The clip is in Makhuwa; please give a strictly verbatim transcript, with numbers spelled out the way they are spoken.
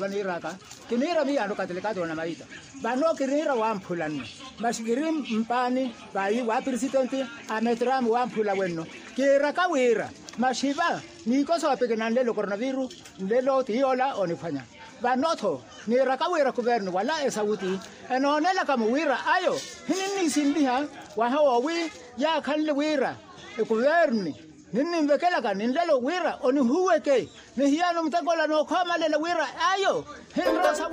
Vaniiraka, kiniira miyaano katilikaati onamaita. Vano kiniira wamphula nno, masi kiri mpaani vayi wa pirisitenti a metrami wamphula wenno. Kiiraka wira masi va niikosa opikina nlelo koronaviru, nlelo ti yoola oniphwanya. Vano-tho niiraka wira kuvernu wala esawuti enoonelaka-mo wira ayo hininniisinliha waha woowi yaakhanle wira ekuverni ninninvekelaka ni nlelo wira onihuweke. Ni hiyano mutekola nookhoomalela wira ayo hinrosa